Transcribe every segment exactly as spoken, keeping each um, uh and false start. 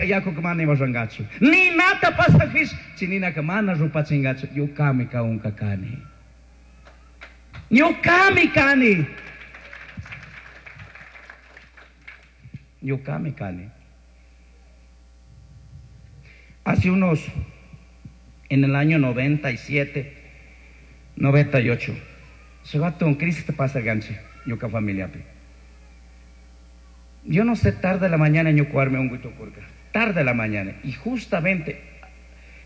Yakuka mana ima rurangachu. Ninata pasajpish chay ninaka mana rupachingachu. Ñukami kaunka kani. Ñukami kani. Ñukami kani. Hace unos, en el año noventa y siete, noventa y ocho, se va a un crisis te pasa ganche, ñuka familia pi. Yo no sé, tarde de la mañana ñuka un guito curca, tarde de la mañana, y justamente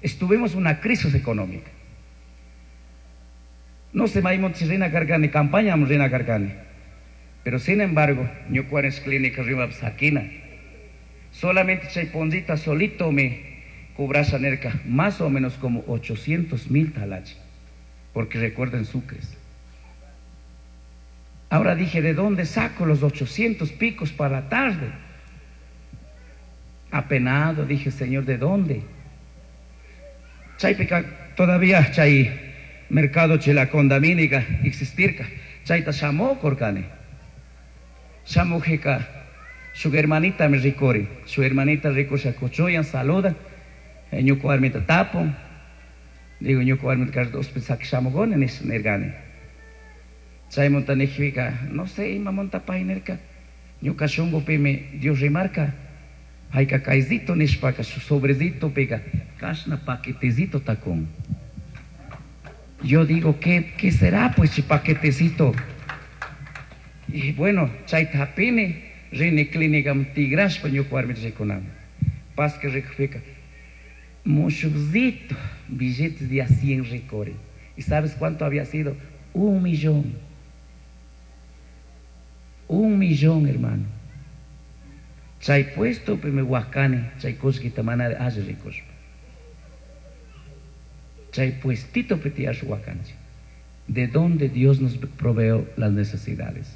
estuvimos una crisis económica. No sé, maimon si rina carcani, campaña rina carcani, pero sin embargo, ñuka es clínica riba sakina, solamente chay ponzita solito me cobrasa nerca, más o menos como ochocientos mil talachi, porque recuerden sucres. Ahora dije, ¿de dónde saco los ochocientos picos para la tarde? Apenado, dije, Señor, ¿de dónde? Chaypica, todavía chay mercado chela condamínica existirca. Chayta llamó corcane. Llamó jeca, su hermanita me ricori. Su hermanita rico se acochoyan, saluda. Ñuco armita tapo. Digo, ñuco armita que dos pensa que llamó con en ese nergane. Chay montanejica, no sé, ima monta painerca. Ñuca shungo pime, Dios remarca. Ay, cacaizito nishpaca, su sobrecito pega. Cashna paquetecito tacón. Yo digo, ¿qué, qué será pues si paquetecito? Y bueno, chay tapine, rini clínica tigraspa ñuco armita rikunam. Pasque ricufica. Muchuzito billetes de a cien ricore. ¿Y sabes cuánto había sido? Un millón. Un millón, hermano. Chay puesto pe me huacane, chay cosquita mana de hace ricos. Chay puestito pe te hace huacanche. De donde Dios nos proveó las necesidades.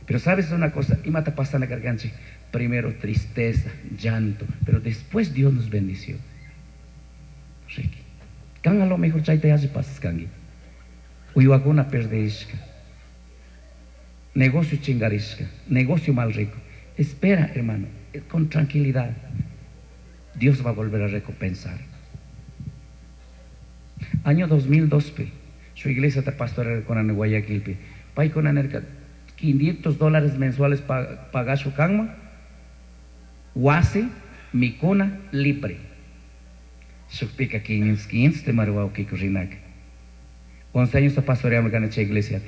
Pero sabes una cosa, y mata pasa la garganta. Primero tristeza, llanto, pero después Dios nos bendició. Ricky. Can a lo mejor chay te hace pasas cangi. Uyuacuna perdisca. Negocio chingarisca, negocio mal rico. Espera, hermano, con tranquilidad. Dios va a volver a recompensar. Año dos mil dos, pe, su iglesia te pastorea con en Guayaquil, pe. Pay con anerca, quinientos dólares mensuales pa-, paga su cama, huase, micona, libre. Su pica quinientos, quinientos de maruao que corrinac. Once años te pastoreamos con esa iglesia.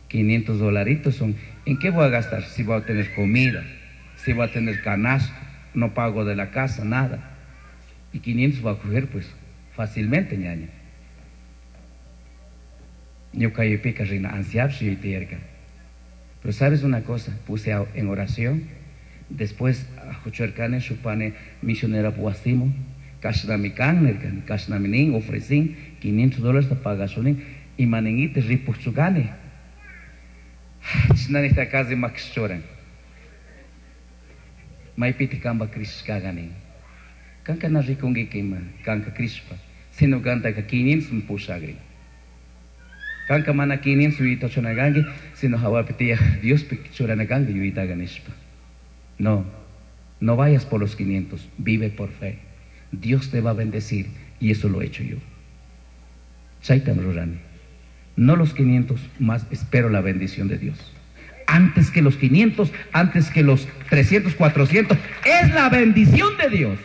quinientos dolaritos son. ¿En qué voy a gastar? Si voy a tener comida, si voy a tener canasto, no pago de la casa, nada. Y quinientos voy a coger, pues, fácilmente, ñaña. Yo caí pica reina, ansiab, si yo te yerca. Pero sabes una cosa, puse a, en oración, después a Juchuercane, Chupane, misionera Puasimo, Kashnamikan, nercan, Kashnaminin, ofrecín, quinientos dólares te paga sonin, y manenguite ripuchugane. Chinani esta casa max choran. Maipiti kamba krishkagani. Kanka na rikungi kima, kanka krishpa. Sino kanta ka quinientos mpusagri. Kanka mana quinientos yuita chonagangi, sino hawapitia Dios choranagangi yuita ganishpa. No, no vayas por los quinientos, vive por fe. Dios te va a bendecir y eso lo he hecho yo. Chaitan rurani. No los quinientos, más espero la bendición de Dios. Antes que los quinientos, antes que los trescientos, cuatrocientos, es la bendición de Dios.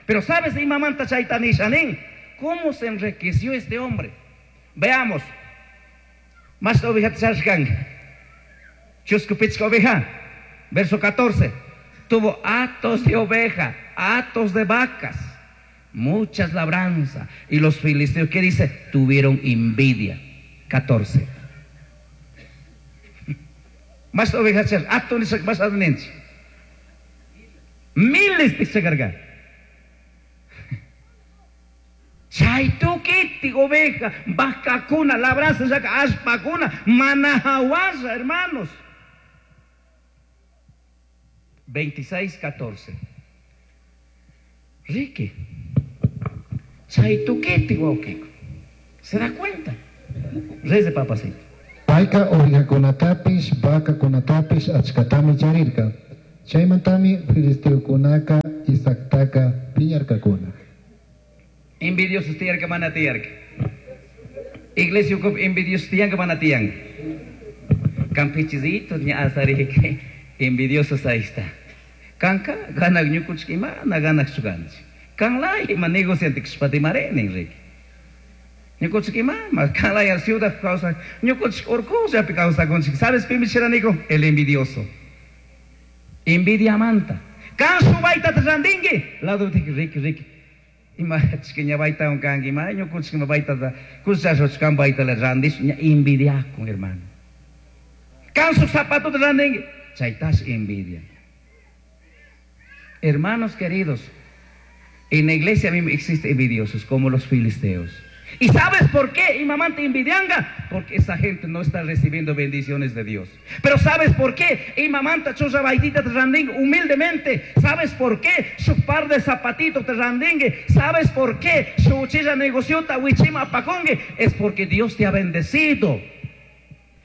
Pero ¿sabes, Imamanta Chaitanishanin? ¿Cómo se enriqueció este hombre? Veamos. Más oveja tshashkan. Chusco pichca oveja. Verso catorce. Tuvo hatos de oveja, hatos de vacas, muchas labranzas. Y los filisteos, ¿qué dice? Tuvieron envidia. catorce. Más ovejas, hatos ni más adonense. Miles de se Chaytuquiti, oveja, vacacuna, labranza, saca, aspacuna, manajahuasa, hermanos. veintiséis, catorce. Ricky. Chaytuquiti, guauquico. ¿Se da cuenta? Reyes de papacito. Paica ovejacunatapish, vacacunatapish, achcatami charirca. Chaymantami filisteokunaka Isaactaka piñarkakuna. Envidiosos tiyarka mana tiyarka. Iglesia ukupi envidiosos tiyanka mana tiyanka. Campichizito ña asariki envidiosos ahí está. Kanka ganak ñukuchik imana ganakchu kanchik. Kanlay ima negociante kashpata imareni riki. Ñukuchik ima kanlay ciudad kawsak ñukuchik urkullapi kawsakunchik. ¿Sabes pimi chiraniku? El envidioso. Envidia manta. Kan subayta randinki. Lado riki riki. Ima chikiña baytawan kanki ima ñukuchik ima baytata kusashoch kan baytala randish ña envidiakun hermano. Kan su zapatota randinki. Chaytas envidia. Hermanos queridos, en la iglesia mismo existen envidiosos como los filisteos. ¿Y sabes por qué? Y mamá te envidianga. Porque esa gente no está recibiendo bendiciones de Dios. Pero ¿sabes por qué? Y mamá te chuza baitita te randingue humildemente. ¿Sabes por qué? Su par de zapatitos te randingue. ¿Sabes por qué? Su uchilla negociota huichima apacongue. Es porque Dios te ha bendecido.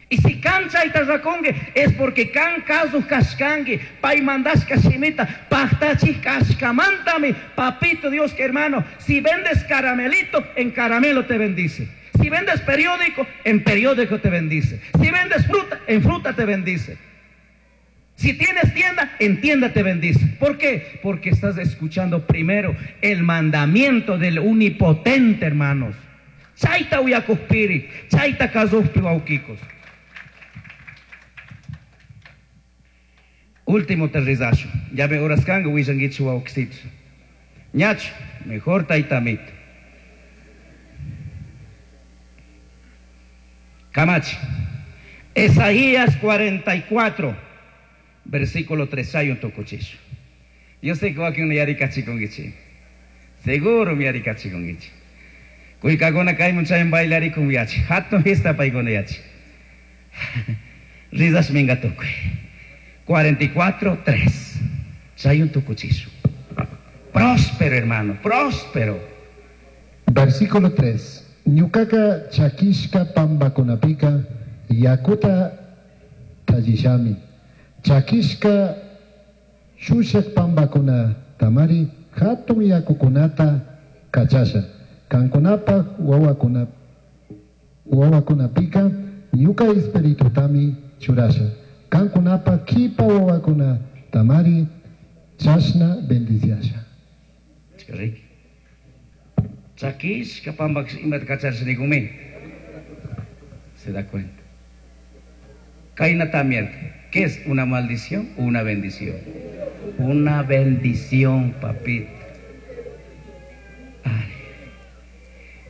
Y si cancha y tarracongue, es porque can caso cascangue, pay mandas casimita, pachtachi cascamantame, papito Dios que hermano, si vendes caramelito, en caramelo te bendice. Si vendes periódico, en periódico te bendice. Si vendes fruta, en fruta te bendice. Si tienes tienda, en tienda te bendice. ¿Por qué? Porque estás escuchando primero el mandamiento del omnipotente, hermanos. Chaita uyakuspiri, chaita kazuspi waukikos. Último aterrizaje. Ya me horas kanga willanguichu wauquisitos. Ñacho, mejor taitamito. Camachi. Isaías cuarenta y cuatro, versículo tres, hay un tocuchillo. Yo sé que aquí un yarikachikonguichi. Seguro mi yarikachikonguichi. Kuikagona kai mucha en bailar con yachi. Hatun fiesta paigona yachi. Risas mingatukui. cuarenta y cuatro, tres. Hay un tucuchizo. Próspero, hermano, próspero. Versículo tres. Ñukaka chakishka pambakunapika yakuta tallishami. Chakishka chushak pambakuna tamari hatun yakukunata kachasha. Kankunapa wawakuna wawakunapika ñuka espiritutami churasha. Kankunapa kipa wawakuna tamari chashna bendiciasha. Ricky. Chakishka pamba imata kacharse nigumi. Se da cuenta. Kaina también. ¿Qué es una maldición o una bendición? Una bendición, papito. Ay.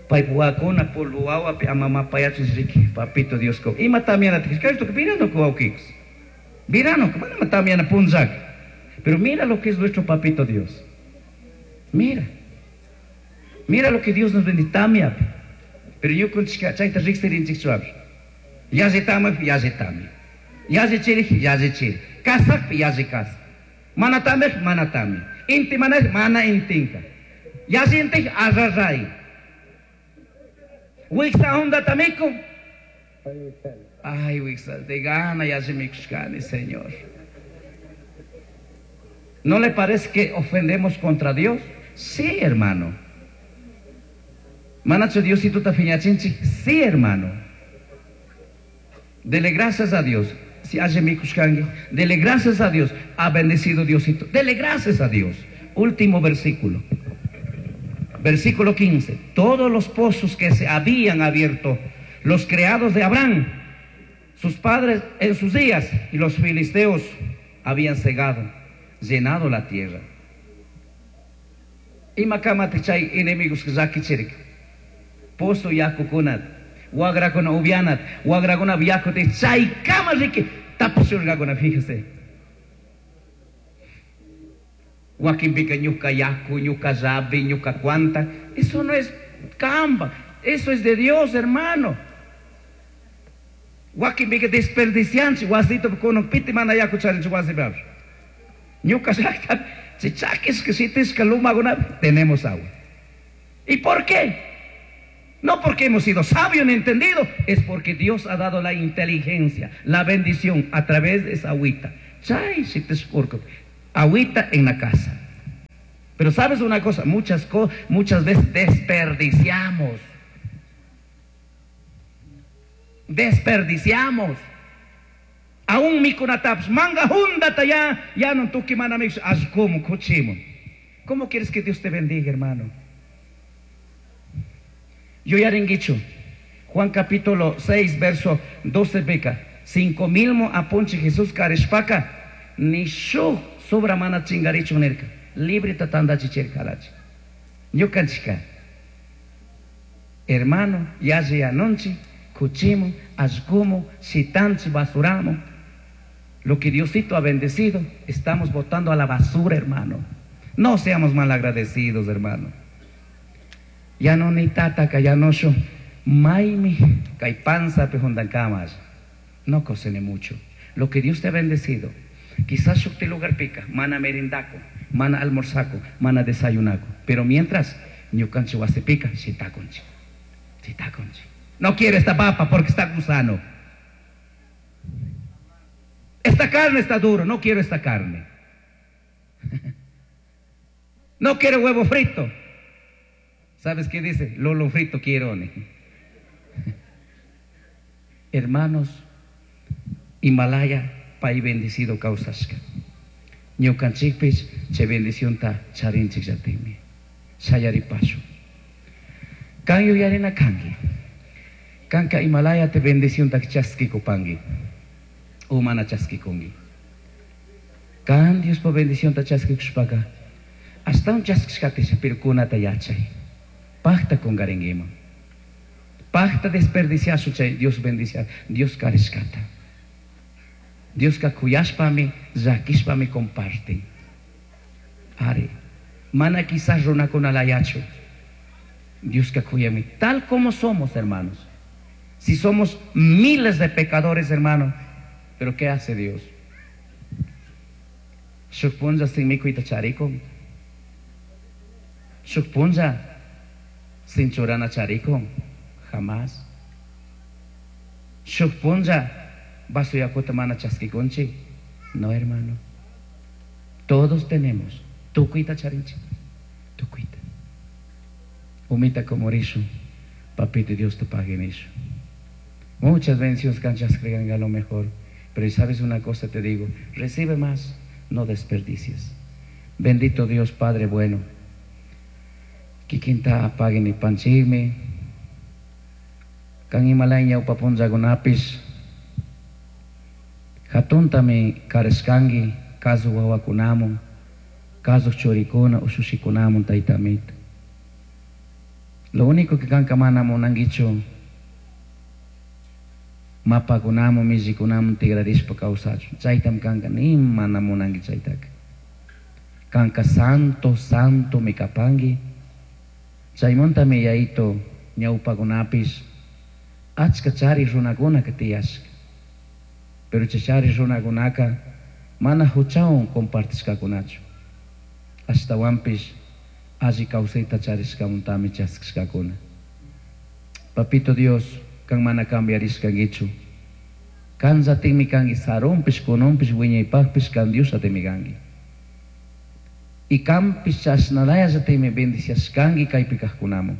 Paipuakuna polvo agua amama payachis Ricky, papito Dios ko. Ima también ati. ¿Qué mirando kuaukix? Mirano, mana también punzak. Pero mira lo que es nuestro papito Dios. Mira. Mira lo que Dios nos bendice. Tamia. Pero yo con chaita rixterin chikchuab. Yazetama, yazetami. Yazechiri, yazechiri. Kasak, yazekas. Manatame, manatami. Inti mana, mana intinka. Yazintij, arraray. Wixta onda tamiko. Ay, wixta, de gana yazimikushkani, Señor. ¿No le parece que ofendemos contra Dios? Sí, hermano. Manacho Diosito tafiñachinchi. Sí, hermano. Dele gracias a Dios. Si hace mi kushkangi, dele gracias a Dios. Ha bendecido Diosito. Dele gracias a Dios. Último versículo. Versículo quince. Todos los pozos que se habían abierto, los criados de Abraham, sus padres en sus días, y los filisteos habían cegado, llenado la tierra. Imakamate chay enemigos que zakichirik. Pozo yakukunat, wagracuna ubianat, wagracuna viacote, chay kama riki, tapashurgakuna, fíjese. Wakimbika ñuka yaku, ñuka rabi, ñuka cuanta. Eso no es camba, eso es de Dios, hermano. Wakimbika desperdicianchi, wasito kono piti mana yaku charinchi wasi bab. Ñuka shakta, chichakis que sitisca lumaguna, tenemos agua. ¿Y por qué? No porque hemos sido sabios ni entendido, es porque Dios ha dado la inteligencia, la bendición a través de esa agüita. Chay shitishka agüita en la casa. Pero sabes una cosa, muchas, co muchas veces desperdiciamos. Desperdiciamos. Aún mikunatapish manga hundata ya ya no tuki mana allkumun kuchimun. ¿Cómo quieres que Dios te bendiga, hermano? Yuyaringuichu. Juan capítulo seis, verso doce beca. Cinco mil mo apunchi Jesús karishpaka ni shuj sobra mana chingarichu nirka. Libre tatandachichirkalachi. Ñukanchika. Hermano, yalli yanunchi, kuchimu, allkumu, shitanchi, basuramu. Lo que Diosito ha bendecido, estamos botando a la basura, hermano. No seamos malagradecidos, hermano. Ya no ni tataka, ya no shu. Maimi, kay panza pejundankamas. No cocine mucho. Lo que Dios te ha bendecido. Quizás shukti lugar pica, mana merindaco, mana almorzaco, mana desayunaco. Pero mientras, ñukanchi wasi pica, shitaconchi. Shitaconchi. No quiero esta papa porque está gusano. Esta carne está dura, no quiero esta carne. No quiero huevo frito. ¿Sabes qué dice? Lolo frito quiero. Hermanos, Himalaya, pay bendecido causashka. Ñukanchikpis che bendición ta charinchik yatimi. Shayaripashu. Kan yuyarina kangi. Kanka Himalaya te bendición ta chaskikupangi. O mana chaskikungi. Kan Dios pa bendición ta chaskikushpaka. Hasta un chaskishkatisha pero kunata yachay. Pacta con garenguima. Pacta desperdiciashu chay Dios bendicia. Dios karishkata. Dios ka kuyashpami, llakishpami comparte. Are. Mana quizás runakunalayachu. Dios ka kuyami. Tal como somos, hermanos. Si somos miles de pecadores, hermano. Pero ¿qué hace Dios? Shuk punlla sin mikuyta charikun. Shuk punlla sin churana charikun. Jamás. Shuk punlla vaso yakuta mana chaskikunchi. No, hermano. Todos tenemos. Tukuyta charinchi. Tukuyta. Umita como rishu. Papito, Dios te pague en eso. Muchas bendiciones canchas crean a lo mejor. Pero sabes una cosa, te digo, recibe más, no desperdicies. Bendito Dios, Padre bueno. Kikinta apaguen y panchigme. Kan Himalaya upapunzagunapis. Hatuntami karishkangi, kazu wawakunamun, kazu churikuna, ushushikunamun taytamit. Lo único que kanka mana munanguichu, mapakunamun, millikunamun, tigradishpa kawsachu. Chaytam kanka ni mana munangi chaytaka. Kanka santo, santo mikapangi. Chaymuntami yayito ñawpakunapis, achka chari runakunaka tiyashka. Pero chachari runakunaka mana huchawan compartishkakunachu. Ashtawanpish alli kawsayta charishkamuntami chaskishkakuna. Papito Dios, kan mana cambiarishkankichu. Kan zatinmi kanki sarunpish, kununpish, wiñaypaqpish, kan Dios zatimi kanki. Y kanpish chashnalaya zatimi bendiciashkanki kaypi kaqkunamun.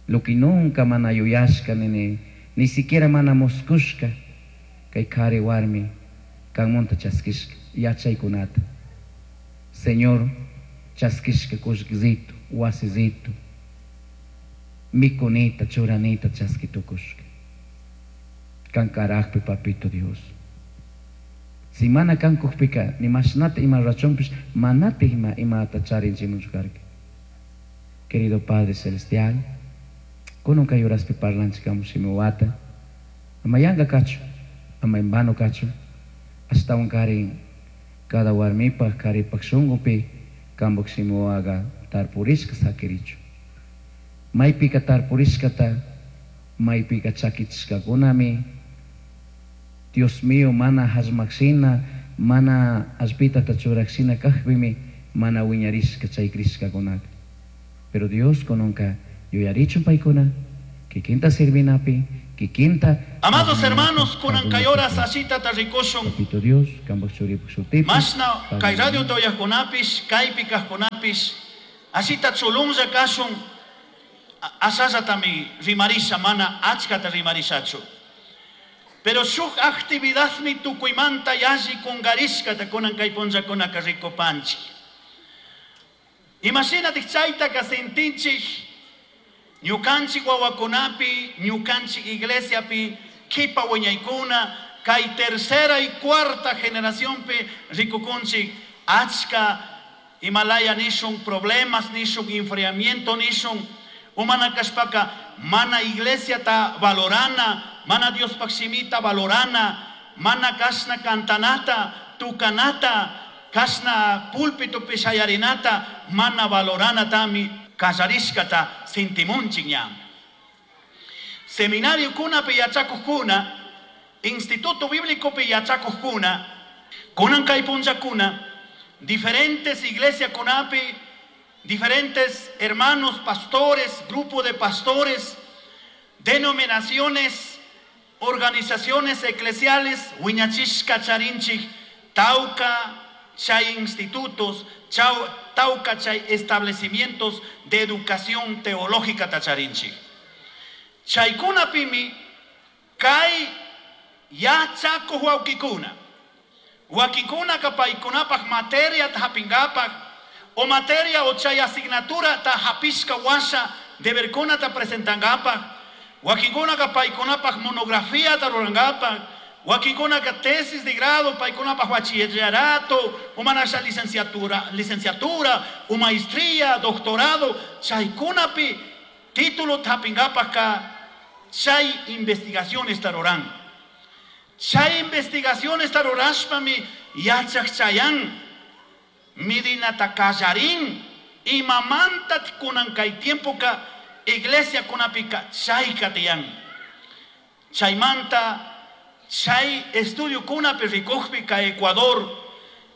Lo que nunca mana yuyashka nini, ni siquiera mana muskushka, kay kari warmi kanmunta chaskishka yachaykunata. Señor, chaskishka kushkizito, wasizito, mikunita, churanita chaskitukushka. Kankaraqpi, papito Dios. Si mana kankukpika, ni mashnata ima rachonpish, manata ima imata charinchimunchu karka. Querido Padre Celestial, kunun kay uraspi parlanchik kamushimiwata, amayanga kachu, ama en vano kachu, ashtawan karin cada warmipaj karipaj shunkupi kambuk shimiwaqa tarpurishka sakirichu. Maypika tarpurishkata, maypika chakichishkakunami, Dios mío, mana hashmakshina, mana allpitata churakshina kajpimi, mana wiñarishka chaykrishkakunaka. Pero Dios kununka yuyarichun paykuna, kikinta sirvinapi, Kikinta. Amados hermanos, kunan kay horas asitata rikushun. Papito Dios, kambaj churipaj shutipi. Mashna kay radio uyajkunapish, kaypi kajkunapish, asita chulunlla kashun, ashallatami rimarisha, mana achkata rimarishachu. Pero shuk actividadmi tukuymanta yalli kungarishkata kunan kay punllakunaka rikupanchik. Imashinatik chaytaka sentinchik, ñukanchik wawakunapi, ñukanchik iglesiapi, kipa wiñaykuna, kay tercera y cuarta generacionpi rikukunchik, achka Himalaya nishun problemas nishun enfriamiento nishun, umana kashpaka mana iglesiata valorana, mana Diospaj shimita valorana, mana kashna cantanata, tucanata, kashna púlpitopi shayarinata, mana valoranatami kallarishkata sintimunchik ña. Seminario kunapi yachakujkuna, instituto bíblicopi yachakujkuna, kunan kay punllakuna, diferentes iglesias kunapi, diferentes hermanos pastores, grupo de pastores, denominaciones, organizaciones eclesiales, wiñachishka charinchik, tauca, chay institutos, chau, tauca chay establecimientos de educación teológica tacharinchik. Chaykunapimi kay yachakuj wawkikuna, wakinkunaka paykunapaj materia hapingapaj, o materia o chay asignatura ta hapishka washa deberkunata presentangapaj, wakinkunaka paykunapaj monografía ta rurangapaj, wakinkunaka tesis de grado paykunapaj bachillerato, o manasha licenciatura, licenciatura, o maestría, doctorado, chaykunapi título hapingapaj ka chay investigaciones taruran. Chay investigaciones tarurashpami yachaj chayan, midinata kallarin, imamanta kunan kay tiempoka iglesia kunapika chayka tiyan. Chaymanta chay estudio kunapi rikujpi ka Ecuador,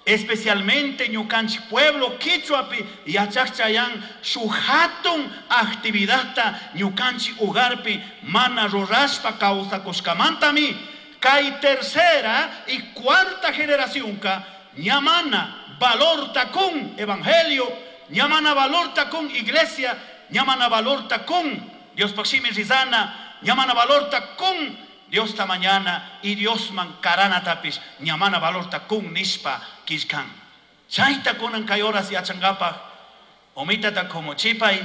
especialmente ñukanchik pueblo quichuapi yachaj chayan shuk hatun actividadta ñukanchik hogarpi mana rurashpa kawsakushkamantami kay tercera y cuarta generacionka ñamana valor kun evangelio, ñamana valor kun iglesia, ñamana valor kun Dios shimi rizana, ñamana valor kun Dios ta mañana y Dios man karana tapis, ñamana valor kun nishpa kishkan. Chayta kunan kay horas yachangapaj, umitata como chipay,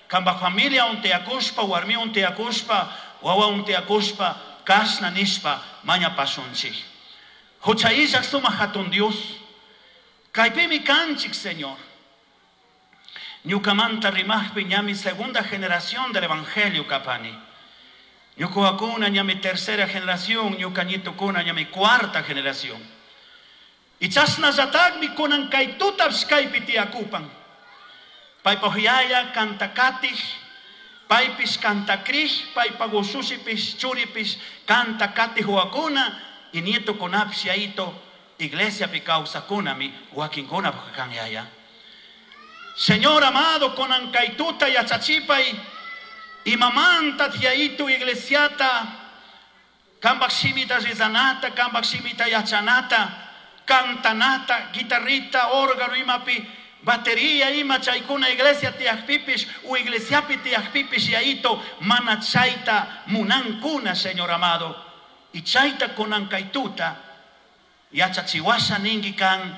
kamba familia unteakushpa, warmi unteakushpa, wawa unteakushpa, kashna nishpa, maña pasunchik. Hucha illaj sumaj hatun Dios, kaypimi kanchik, Señor. Ñukamanta rimajpi ñami segunda generación del Evangelio kapani. Ñuka ñami tercera generación, ñuka ñitukuna ñami cuarta generación. Y chasnallatakmi kunan kay tutapish kaypi tiyakupan. Paypaj yaya kantakatij, paypish kantakrij, paypaj ushushipish, churipish kantakatij wawakuna, y nietukunapish yayito iglesiapi kawsakunami wakinkunapaj kan yaya. Señor amado, kunan kay tuta yachachipay, imamanta yayito iglesiata, kambaj shimita rizanata, kambaj shimita yachanata, cantanata, guitarrita, órgano imapi, batería ima chaykuna iglesia tiyajpipish u iglesiapi tiyajpipish yayito mana chayta munankuna, Señor amado. Y chayta kunan kay tuta yachachiwasha ningi kan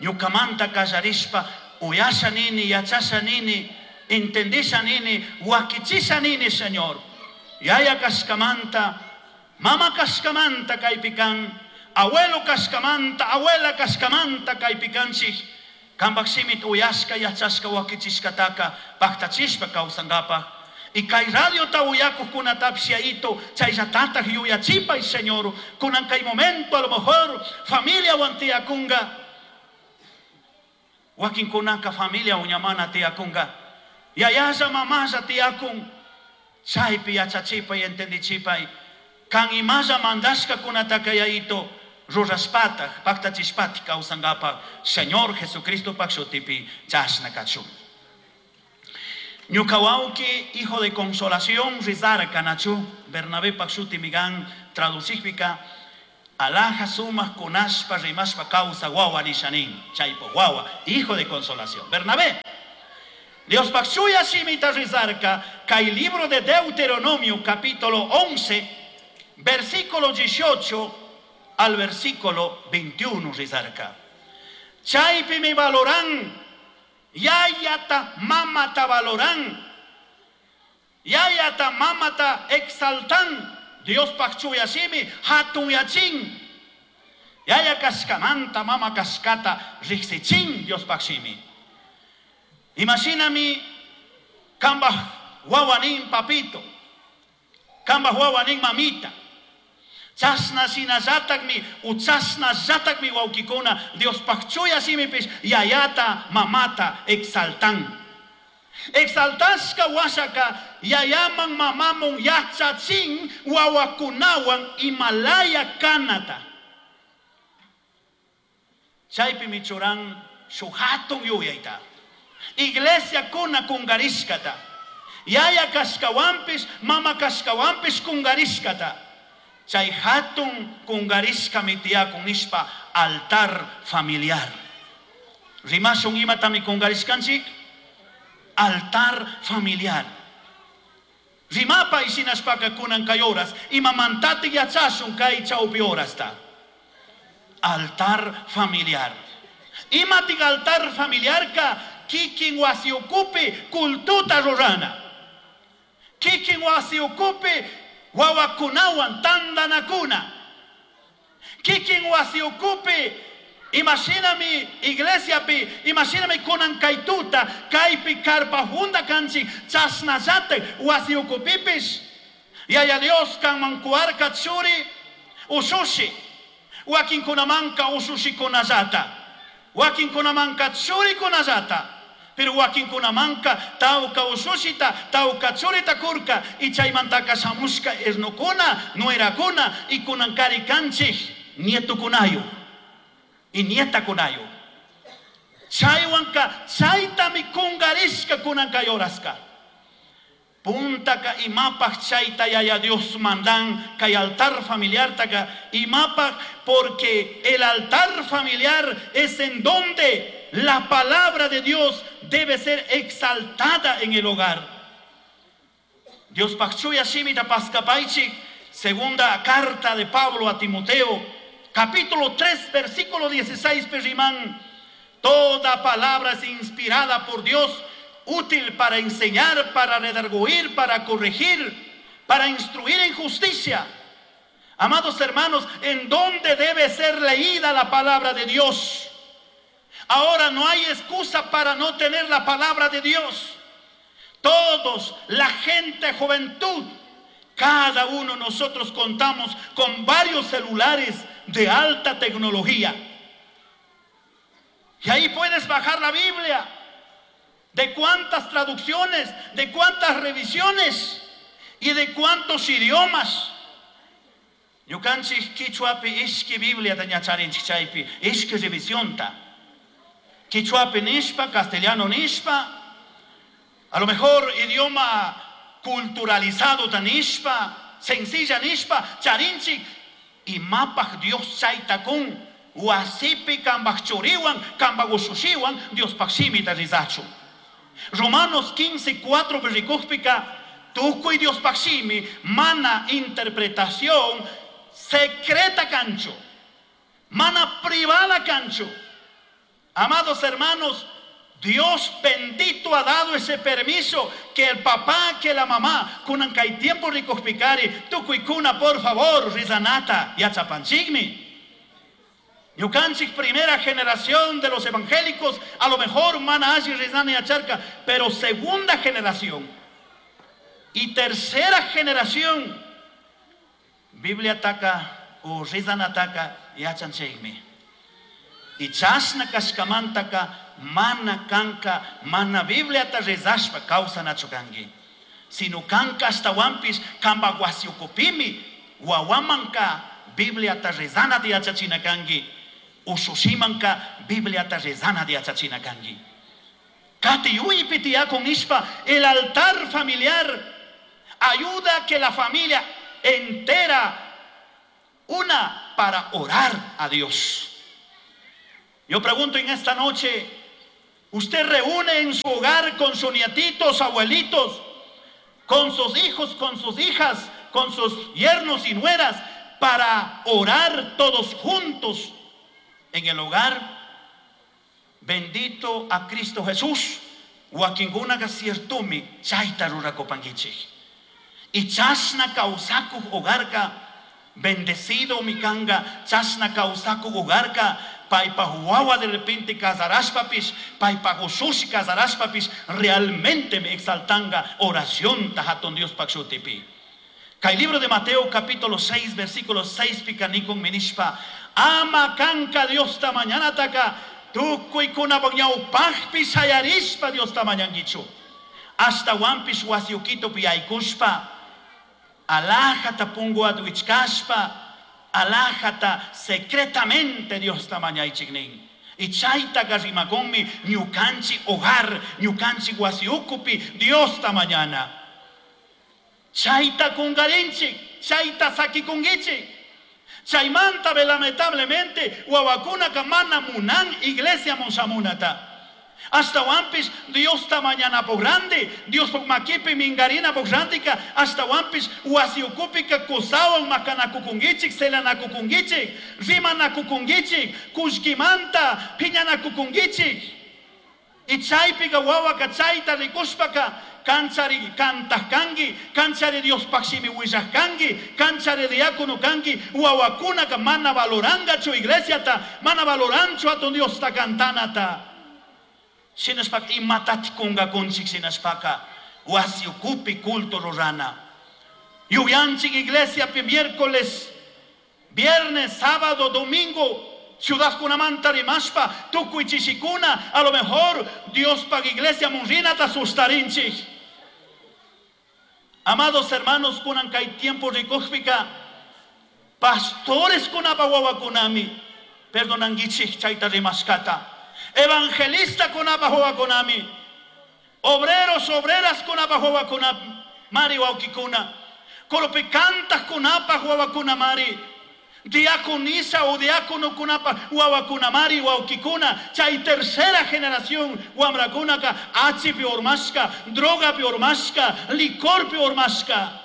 ñukamanta kallarishpa uyasha nini, yachasha nini, entendisha nini, wakichisha nini, Señor. Yaya kashkamanta, mama kashkamanta kaypi kan, abuelo kashkamanta, abuela kashkamanta kaypi kanchik, kambaj shimita uyashka, yachashka, wakichishkataka paktachishpa kawsankapaj. Y kay radiota uyakujkunatapish yayito, chayllatataj yuyachipay, Señor. Kunan kay momento a lo mejor familiawan tiyakunga. Wakinkunaka familia uñamana tiyakunga. Yayalla mamalla tiyakun. Chaypi yachachipay, entendichipay. Kan imalla mandashkakunataka yayito rurashpataj, paktachishpataj kawsankapaj. Señor Jesucristopaj shutipi chashna kachun. Ñuka wawki, hijo de consolación, rizarka nachu, Bernabé shuti migan traducigpika, alhaja sumak kunashpa rimashpa kawsa wawa nishanin, chaypo wawa, hijo de consolación. Bernabé. Dios chuya shimita rizarka, kay libro de Deuteronomio capítulo once, versículo dieciocho al versículo veintiuno rizarka. Chaypi mi valoran, yayata mamata valoran, yayata mamata exaltan, Dios chuya shimi hatun yachin, yaya kashkamanta mama kashkata riksichin Dios shimi. Imashinami kamba wawanin papito, kamba wawanin mamita. Chasna shinallatakmi uchasna llatakmi wawkikuna Dios chuya shimipish yayata mamata exaltan. Exaltashka washaka yayaman mamamun yachachin wawakunawan imalaya kanata. Chaypi michuran shuk hatun yuyayta. Iglesia kuna kungarishkata. Yaya kashkawanpish mama kashkawanpish kungarishkata. Chay hatun kungarishka mitiyakun nishpa altar familiar. Rimashun imatami kungarishkanchik? Altar familiar. Rimapa ishinashpaka kunan kay horas, imamantati yachashun kay chawpi horasta. Altar familiar. Imatik altar familiarka kikin wasi ukupi kultuta rurana. Kikin wasi ukupi wawakunawan tandanakuna. Kikin wasi ukupi imashinami iglesiapi, imashinami kunan kaytuta, kaypi karpa hunda kanchik, chasnallate wasi ukupipis. Yaya Dios kanman kuarka churi ushushi. Wakinkunamanka ushushikunallata. Wakinkunamanka churikunallata. Pero wakinkunamanka tawka ushushita, tawka churita kurka, y chaymantaka shamushka ernukuna, nuerakuna, y kunankari kanchik, nietukunayo, y nietakunayo. Chaywanka, chaytami kungarishka kunanka yoraska. Puntaka imapaj chayta yaya Dios mandan kay altar familiar taka imapaj, porque el altar familiar es en donde la palabra de Dios debe ser exaltada en el hogar. Dios pachuya shimita paskapaichi, segunda carta de Pablo a Timoteo, capítulo tres, versículo dieciséis, perrimán. Toda palabra es inspirada por Dios, útil para enseñar, para redarguir, para corregir, para instruir en justicia. Amados hermanos, ¿en dónde debe ser leída la palabra de Dios? Ahora no hay excusa para no tener la palabra de Dios. Todos, la gente, juventud, cada uno nosotros contamos con varios celulares de alta tecnología. Y ahí puedes bajar la Biblia. De cuántas traducciones, de cuántas revisiones y de cuántos idiomas. Ñukanchik quichuapi ishki Biblia ñacharinchik chaypi, ishki revisionta. Quichuapi nishpa, castellano nishpa, a lo mejor idioma culturalizado ta nishpa, sencilla nishpa, charinchik, y mapaj Dios chaytakun, wasipi kambaj churiwan, kambaj ushushiwan, Dios shimita rizachu. Romanos quince, cuatro, berricújpica, tukuy Dios shimi, mana interpretación secreta cancho, mana privada cancho. Amados hermanos, Dios bendito ha dado ese permiso que el papá, que la mamá, kunan kay tiempo rikujpikari, tukuy kuna, por favor, rizanata, yachapanchikmi. Ñukanchik primera generación de los evangélicos, a lo mejor mana alli rizana yacharka, pero segunda generación y tercera generación, Biblia taka o rizana taka yachanchikmi. Y chasna kashkamantaka mana kanka, mana Biblia ta rezashpa kawsanachu kanki. Sino kanka ashtawanpish kamba wasiukupimi wawamanka Biblia ta rezana yachachina kanki. Ushushimanka Biblia ta rezana yachachina kanki. Imati yuypi tiyakun nishpa, el altar familiar ayuda a que la familia entera una para orar a Dios. Yo pregunto en esta noche, ¿usted reúne en su hogar con sus nietitos, abuelitos, con sus hijos, con sus hijas, con sus yernos y nueras, para orar todos juntos en el hogar? Bendito a Cristo Jesús. Wakinkunaqa ciertomi chayta rurakupankichik. Y chashna kawsakuq hogarka bendecido mi kanga, chashna kawsakuq hogarka paypaj wawa de repente casarashpapish, paypaj ushushi casarashpapish, realmente me exaltanga oración ta hatun Diospaj shutipi. Kay libro de Mateo capítulo seis versículo seis pika nikun minishpa, ama kanka Diosta mañanataka tukuy kunapaj ñawpajpi shayarishpa Diosta mañankichu. Ashtawanpish wasiukitupi yaykushpa, alajata punguata wichkashpa, alajata secretamente Diosta mañaychik nin. Y chaytaqa rimakunmi ñukanchik hogar, ñukanchik wasi ukupi Diosta mañana. Chayta kungarinchik, chayta sakikunkichik. Chaymanta lamentablemente wawakunaka mana munan iglesia shamunata. Ashtawanpish Diosta mañanapaj randi, Diospaj makipi mingarinapaj randika, ashtawanpish wasi ukupika kusawan makanakukunkichik, celanakukunkichik, rimanakukunkichik, kullkimanta piñanakukunkichik. Y chaypika wawaka chayta rikushpaka kanchari kantaq kanki, kanchari Diospaj shimi willaq kanki, kanchari diácono kanki, wawakunaka mana valorangachu iglesiata, mana valoranchu atun Diosta kantanata. Shinashpaka imatati kungakunchik shinashpaka wasi ukupi culto rurana. Yuyanchik iglesiapi miércoles, viernes, sábado, domingo, ciudadkunamanta rimashpa, tukuy chishikuna, a lo mejor Diospaj iglesia munrinata sustarinchik. Amados hermanos, kunan kay tiempo rikujpika, pastores kunapa wawakunami, perdonanguichik chayta rimashkata. Evangelista kunapa wawakunami, obreros, obreras kunapa wawakunami, mari wawkikuna, koropi kantaq kunapa wawakuna mari, diaconisa o diácono kunapa wawakuna mari wawkikuna, chay tercera generación wamrakunaka achipi urmashka, drogapi urmashka, licorpi urmashka.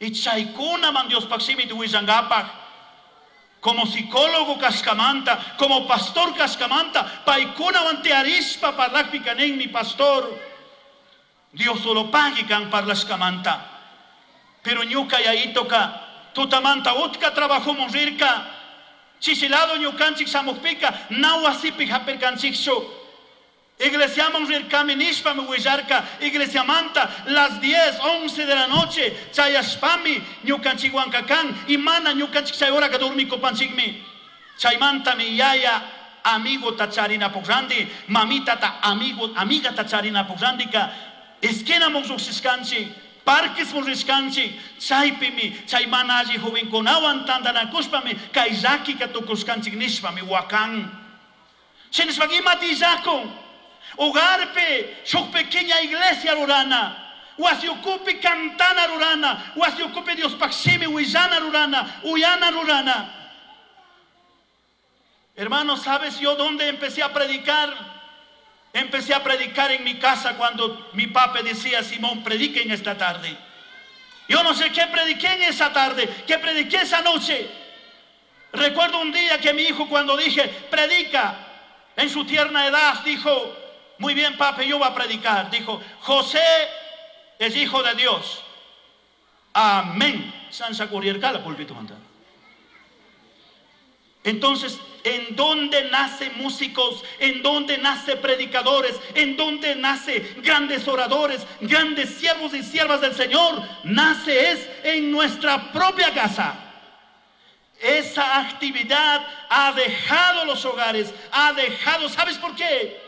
Y chaykunaman Diospaj shimita willangapaj, como psicólogo kashkamanta, como pastor kashkamanta, paykunawan tiyarishpa parlajpika nin mi pastor, Dios solo pagui kan parlashkamanta. Pero ñuka yayitoka, tutamanta utka trabajomun rirka, chisilado ñukanchik shamukpika, na wasipi hapirkanchikchu. Iglesiaman rirkami nishpami willarka, iglesiamanta las diez, once de la noche, chayashpami ñukanchikwanka kan, y mana ñukanchik chay horaka dormikupanchikmi. Chaymantami yaya amigo ta charinapuk randi, mamita ta amigo, amiga ta charinapuk randika, esquinaman lluqshishkanchik, parquesman rishkanchik, chaypimi, chay mana alli jovenkunawan tantanakushpami, kay llakika tukushkanchik nishpami wakan. Shinashpaka imata illakun? Hogarpi, shuk pequeña iglesia rurana, wasi ukupi cantana rurana, wasi ukupi Diospaj shimi willana rurana, uyana rurana. Hermano, ¿sabes yo dónde empecé a predicar? Empecé a predicar en mi casa cuando mi papá decía, Simón, predique en esta tarde. Yo no sé qué prediqué en esa tarde, qué prediqué esa noche. Recuerdo un día que mi hijo, cuando dije, predica, en su tierna edad, dijo, muy bien, papi, yo voy a predicar. Dijo, José es hijo de Dios. Amén. San Sacuriercala, púlpito manta. Entonces, ¿en dónde nacen músicos? ¿En dónde nacen predicadores? ¿En dónde nacen grandes oradores, grandes siervos y siervas del Señor? Nace es en nuestra propia casa. Esa actividad ha dejado los hogares, ha dejado, ¿sabes por qué?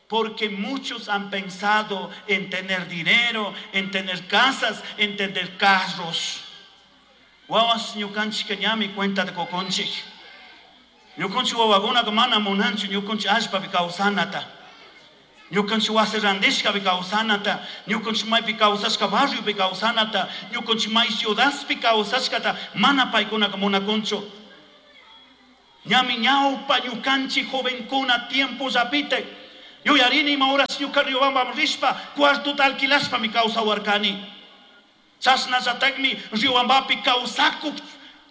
Porque muchos han pensado en tener dinero, en tener casas, en tener carros. Wawas ñukanchik ñami cuenta de coconchik. Ñukanchik wawakuna mana munanchu ñukanchik allpapi kawsanata. Ñukanchik wasi randishkapi kawsanata, ñukanchik maypi kawsashka barriopi kawsanata, ñukanchik may ciudadpi kawsashkata mana paykunaka munakunchu. Ñami ñawpa ñukanchik jovenkuna tiempo llapite. Yuyarini ima horas ñuka Riobamba rishpa cuartota alquilashpami kawsawarkani. Chashnallatakmi Riobambapi kawsakuk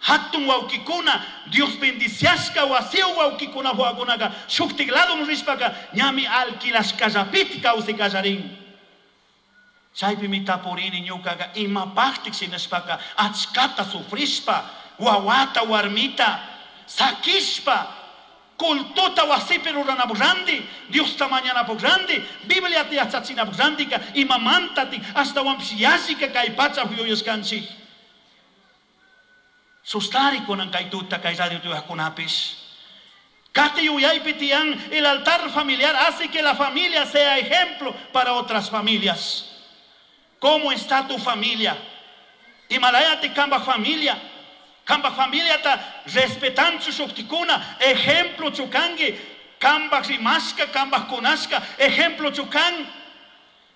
hatun wawkikuna Dios bendiciashka wasiyu wawkikuna wawakunaka shuktik ladon rishpaka ñami alquilashkallapiti kawsay kallarin. Chaypimi tapurini ñukaka imapaktik shinashpaka achkata sufrishpa wawata warmita sakishpa cultuta wasipi ruranapuk ranti, Diosta mañanapuk ranti, Bibliata yachachinapuk rantika imamantatik ashtawanpish yallika kay pacha yuyashkanchik. Sustari kunan kay tuta kay radio tuyajkunapish. Kati yuyaypi tiyan el altar familiar hace que la familia sea ejemplo para otras familias. ¿Cómo está tu familia? Imalayati kamba familia. Kamba familia ta respetanchu shuktikuna, ejemplo chukangi, kamba rimashka, kamba kunashka, ejemplo chukan.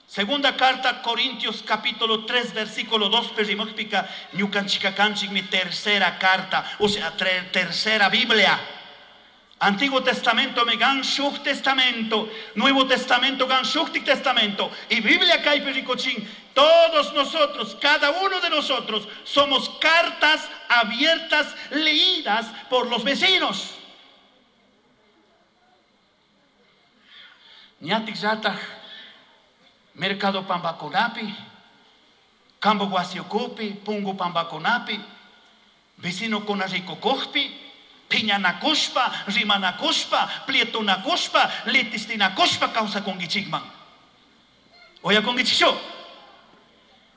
Segunda carta a Corintios capítulo tres versículo dos perimokpika ñukanchika kanchik mi tercera carta, o sea, tre, tercera Biblia. Antiguo Testamento me gan shuk Testamento, Nuevo Testamento gan shuktik Testamento y Biblia kaypi rikuchin. Todos nosotros, cada uno de nosotros somos cartas abiertas leídas por los vecinos. Ñatik llataj mercado pambakunapi, campo wasiukupi, pungu pambakunapi, vecino kuna rikukujpi, piñanakushpa, rimanakushpa, plietunakushpa, litistinakushpa kawsakunkichikman. Oyakunkichikchu?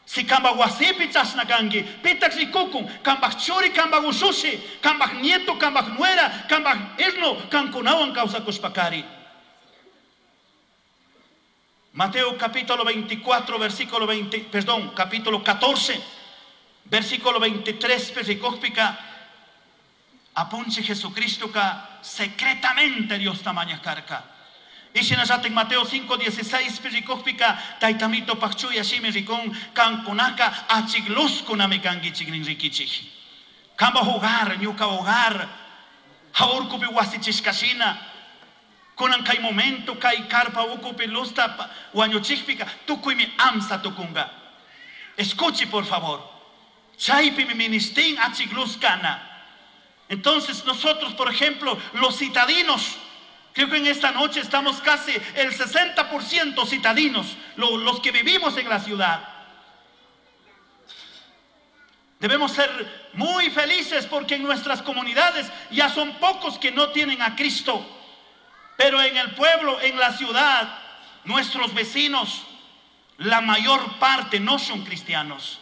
Si kamba wasipi chashna kanki, pitak rikukun, kambaj churi, kambaj ushushi, kambaj nieto, kambaj nuera, kambaj yerno, kankunawan kawsakushpakari. Mateo capítulo veinticuatro, versículo veinte, perdón, capítulo catorce, versículo veintitrés, pericóspica, apunche Jesucristo ka secretamente Dios tamaña carca. Y si en Mateo cinco, dieciséis, pericóspica, taitamito pachuya shimi ricón, cancunaca, achigluscunami canguichigrin riquichig. Kamba hogar, ñuka hogar, jaurkupi wasichishkashina. Kunan kay momento, kay carpa ukupi lusta wañuchikpika, tukuymi amsa tukunga. Escuche por favor. Chaypi mi ministín achigluskana. Entonces nosotros, por ejemplo, los citadinos, creo que en esta noche estamos casi el sesenta por ciento citadinos, lo, los que vivimos en la ciudad. Debemos ser muy felices porque en nuestras comunidades ya son pocos que no tienen a Cristo. Pero en el pueblo, en la ciudad, nuestros vecinos, la mayor parte no son cristianos.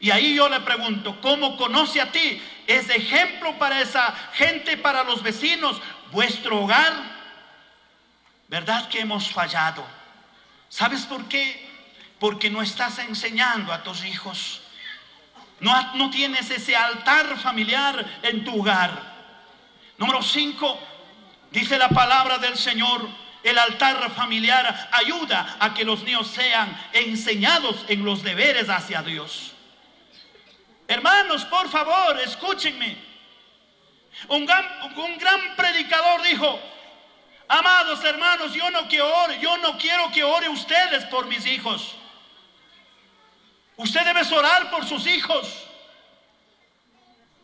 Y ahí yo le pregunto, ¿cómo conoce a ti? ¿Es ejemplo para esa gente, para los vecinos, vuestro hogar? ¿Verdad que hemos fallado? ¿Sabes por qué? Porque no estás enseñando a tus hijos. No, no tienes ese altar familiar en tu hogar. Número cinco, dice la palabra del Señor, el altar familiar ayuda a que los niños sean enseñados en los deberes hacia Dios. Hermanos, por favor, escúchenme. Un gran, un gran predicador dijo: amados hermanos, yo no quiero ore, yo no quiero que ore ustedes por mis hijos. Usted debe orar por sus hijos.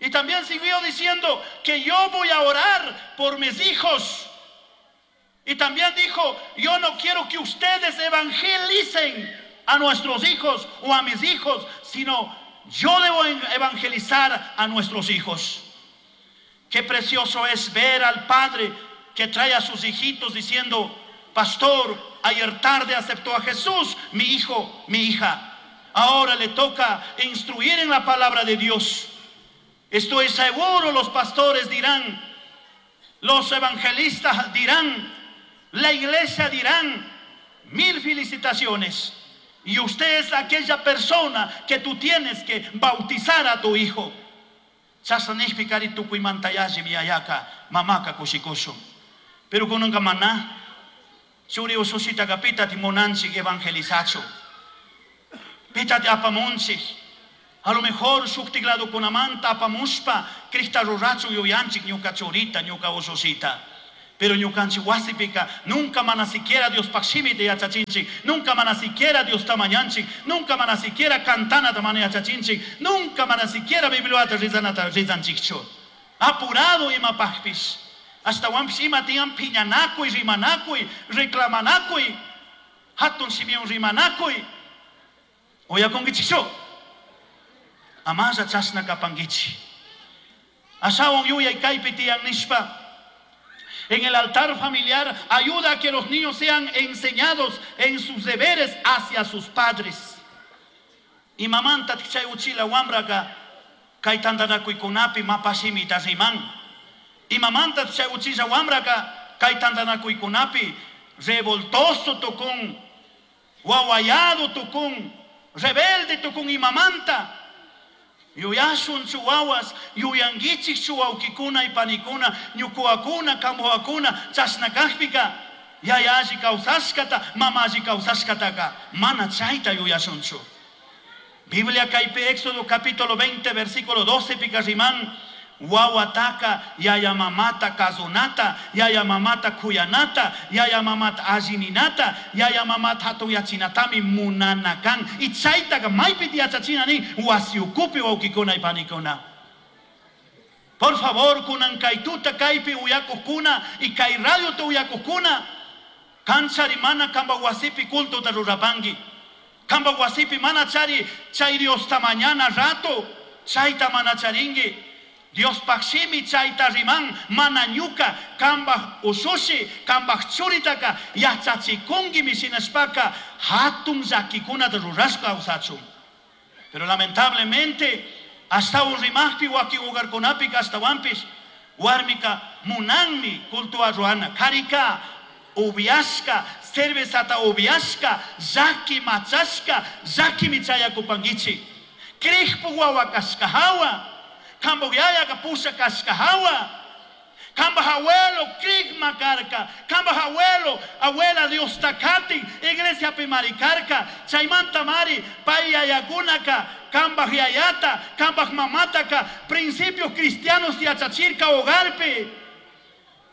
Y también siguió diciendo que yo voy a orar por mis hijos. Y también dijo, yo no quiero que ustedes evangelicen a nuestros hijos o a mis hijos, sino yo debo evangelizar a nuestros hijos. Qué precioso es ver al padre que trae a sus hijitos diciendo, pastor, ayer tarde aceptó a Jesús, mi hijo, mi hija. Ahora le toca instruir en la palabra de Dios. Estoy seguro los pastores dirán, los evangelistas dirán, la iglesia dirán, mil felicitaciones. Y usted es aquella persona que tú tienes que bautizar a tu hijo. Chasanishpikari tukuymanta yalli mi ayaka, mamaka kushikushun. Pero kunanka mana, Churi usushitaqa pitati munanchik evangelizachu. Pitati apamunchik. A lo mejor shuktik ladokunamanta apamushpa Crista rurachu yuyanchik ñuka churita, ñuka usushita. Pero ñukanchik wasipika nunca mana siquiera Dios shimita yachachinchik, nunca mana siquiera Dios mañanchik, nunca mana siquiera cantanata mana yachachinchik, nunca mana siquiera Bibliata rizanata rizanchikchu. Apurado imapaqpis. Ashtawanpish ima tiyan piñanakuy, rimanakuy, reclamanakuy, hatun shimiwan rimanakuy. Uyakunkichikchu? Amalla chashna kapankichik. Ashawan yuyay kaypi tiyan nishpa. En el altar familiar ayuda a que los niños sean enseñados en sus deberes hacia sus padres. Imamanta chay uchila wambraka kay tantanakuykunapi mapa shimita riman. Imamanta chay uchilla wambraka kay tantanakuykunapi revoltoso tukun, wawayado tukun, rebelde tukun imamanta. Yuyashun wawas, yuyankichik wawkikuna y panikuna, ñukuwakuna, kambuwakuna, chashna kakpika, yaya alli kawsashkata, mama alli kawsashkataka, mana chayta yuyashunchu. Biblia kaypi Éxodo capítulo veinte, versículo doce pika riman, wawataka yaya mamata kazunata, yaya mamata kuyanata, yaya mamata allininata, yaya mamata hatuyachinatami munanakan. Y chaytaka maypi yachachinani wasiukupi wawkikuna y panikuna. Por favor, kunan kaytuta kaypi uyakukuna y kay radiota uyakukuna, kanchari mana kamba wasipi culto rurapangi. Kamba wasipi mana chari chay Diosta mañana rato, chayta mana charingi. Dios shimi chayta riman, mana ñuka, kambaj usushi, kambaj churitaka, yachachikungi mishinashpaka, hatun llakikunata rurashpa kawsachun. Pero lamentablemente, hasta un rimajpi waki hogarkunapi ashtawanpish, warmika munanmi culto ruana, karika ubiashka, cervezata ubiashka, llaki machashka, llaki michayakupankichik. Krishpu wawa kashka hawa, kambo yayaka pusha kashka hawa, kamba abuelo krigma karka, kamba abuelo, abuela Dios takati, iglesia pimarikarka, chaymanta mari, pay yayakunaka, kamba yayata, kamba mamataka, principios cristianos yachachirka hogarpi,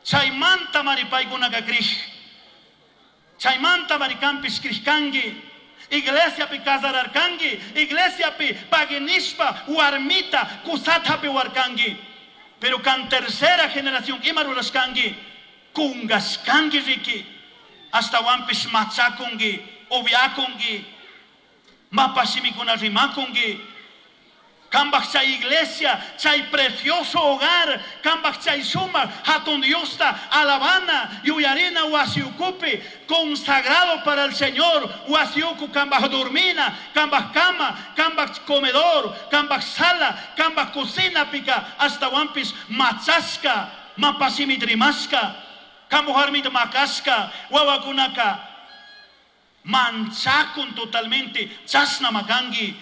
chaymanta mari paykunaka krish, chaymanta mari kampis krishkangi. Iglesia pi casararkangi, iglesia pi paginishpa, warmita, kusathapi warkangi. Pero kan tercera generación ima rurashkangi, kungashkangi riki, hasta wampis machakungi, obiakungi, mapashimikuna rimakungi. Kambaj chay iglesia, chay precioso hogar, kambaj chay suma, hatun Diosta, alabana, yuyarina, wasiukupi, consagrado para el Señor, wasiuku, kambaj dormina, kambaj cama, kambaj comedor, kambaj sala, kambaj cocina pica, hasta wampis machasca, mapasimitrimasca, kambujarmita macasca, wawakunaka, manchakun totalmente, chasna makangi.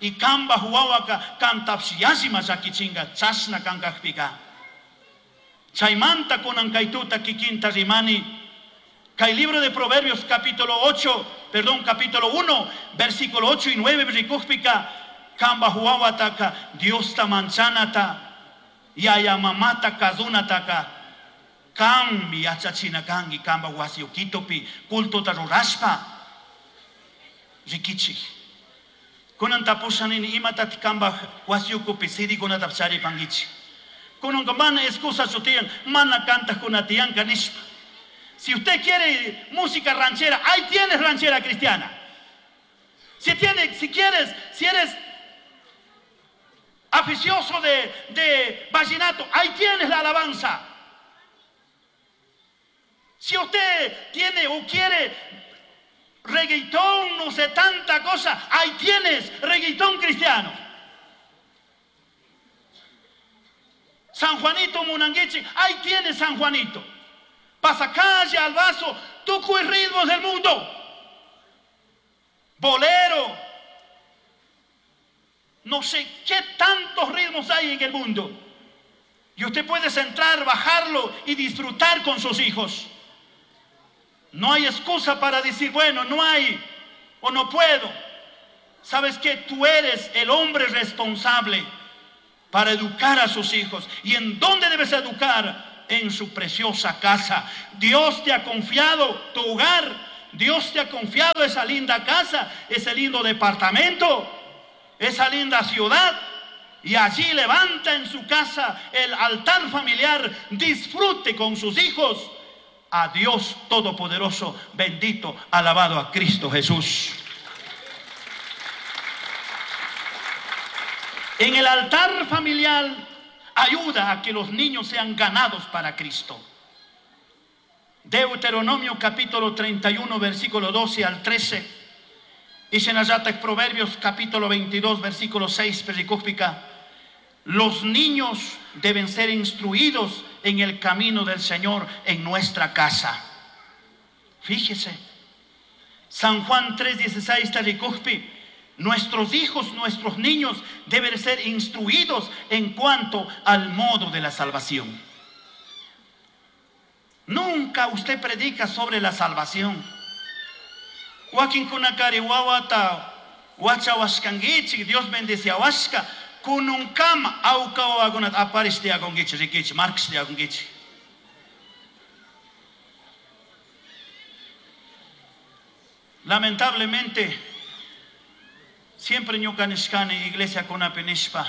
Y kamba huawaka kantapsiyasima llakichinga chashna kankakpika. Chaymanta kunan kaytuta kikinta rimani. Kay libro de Proverbios capítulo ocho, perdón, capítulo uno, versículo ocho y nueve rikukpika, kamba huawataka Diosta manchanata, yaya mamata kazunataka, kambi yachachina kangi kamba wasiukitopi cultota rurashpa rikichik. Kunan tapushanini imatati kambaj wasiukupi sirikunata charipankichik. Kunanka mana excusa chutiyan, mana kantajkuna tiyanka nishpa. Si usted quiere música ranchera, ahí tienes ranchera cristiana. Si tiene, si quieres, si eres aficioso de, de vallenato, ahí tienes la alabanza. Si usted tiene o quiere reggaetón, no sé tanta cosa, ahí tienes reggaetón cristiano. San Juanito Munanguichi, ahí tienes San Juanito. Pasacalle, albazo, tucu y ritmos del mundo. Bolero. No sé qué tantos ritmos hay en el mundo. Y usted puede entrar, bajarlo y disfrutar con sus hijos. No hay excusa para decir, bueno, no hay o no puedo. ¿Sabes qué? Tú eres el hombre responsable para educar a sus hijos. ¿Y en dónde debes educar? En su preciosa casa. Dios te ha confiado tu hogar. Dios te ha confiado esa linda casa, ese lindo departamento, esa linda ciudad. Y allí levanta en su casa el altar familiar. Disfrute con sus hijos. A Dios Todopoderoso, bendito, alabado a Cristo Jesús. En el altar familiar ayuda a que los niños sean ganados para Cristo. Deuteronomio capítulo treinta y uno, versículo doce al trece. Y Shenayatek Proverbios capítulo veintidós, versículo seis, pericúspica. Los niños deben ser instruidos en el camino del Señor en nuestra casa. Fíjese, San Juan tres dieciséis, pericúspi. Nuestros hijos, nuestros niños deben ser instruidos en cuanto al modo de la salvación. Nunca usted predica sobre la salvación. Wakin kunakari wawata wachawashkangichik, Dios bendice awashka, kununkama awkawakunata aparishtiakunkichik, rikichik, markishtiakunkichik. Lamentablemente, siempre ñuka nishkani iglesia kunapi nishpa,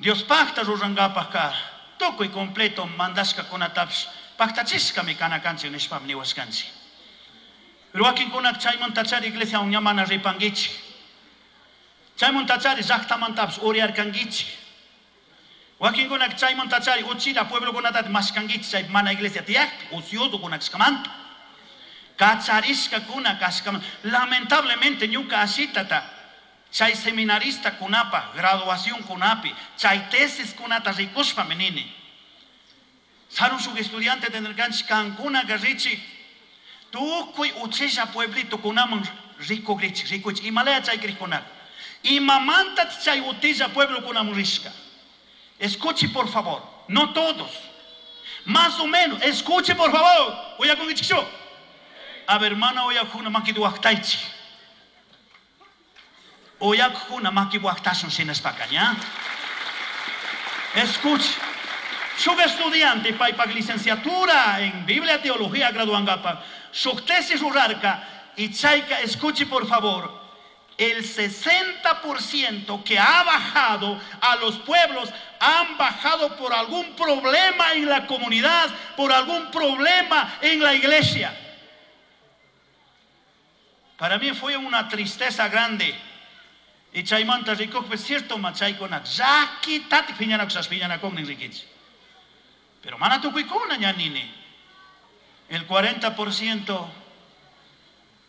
Dios pacta rurangapajka, tukuy completo mandashka kunatapish, pactachishkami kana kanchik nishpami niwashkanchik. Pero wakinkunak chaymantachari iglesia uñamana ripankichik. Chaymantachari llaqtamantapish uriyarkankichik. Wakinkunak chaymantachari uchila pueblokunatati mashkankichik chay mana iglesia tiyakpi, ocioso kunakashkamanta. Kacharishka kuna kashkamanta. Lamentablemente ñuka ashitata chay seminarista kunapa, graduación kunapi, chay tesis kunata rikushpa menini. Sarun shuk estudiante tenerkanchik kankuna garrichik, tukuy uchilla pueblito kunaman rikugrichik, rikuchik, imalaya chay krikunak. Imamanta chay utilla pueblo kunaman rishka. Escuche por favor, no todos, más o menos, escuche por favor. Uyakunkichikchu. A ver, hermana, uyakuna makiduaktaichi. Uyakuna makibuaktashun shinashpaka, ¿ya? Escuche. Shuk estudiante paypak licenciatura en Biblia, Teología, graduangapa, shuk tesis rurarka, y chayka, escuche por favor, el sesenta por ciento que ha bajado a los pueblos han bajado por algún problema en la comunidad, por algún problema en la iglesia. Para mí fue una tristeza grande. Y chaymanta rikukpi cierto machaykuna llakitati piñanakushash piñanakun rikichik. Pero mana tukuykuna ñanini. El cuarenta por ciento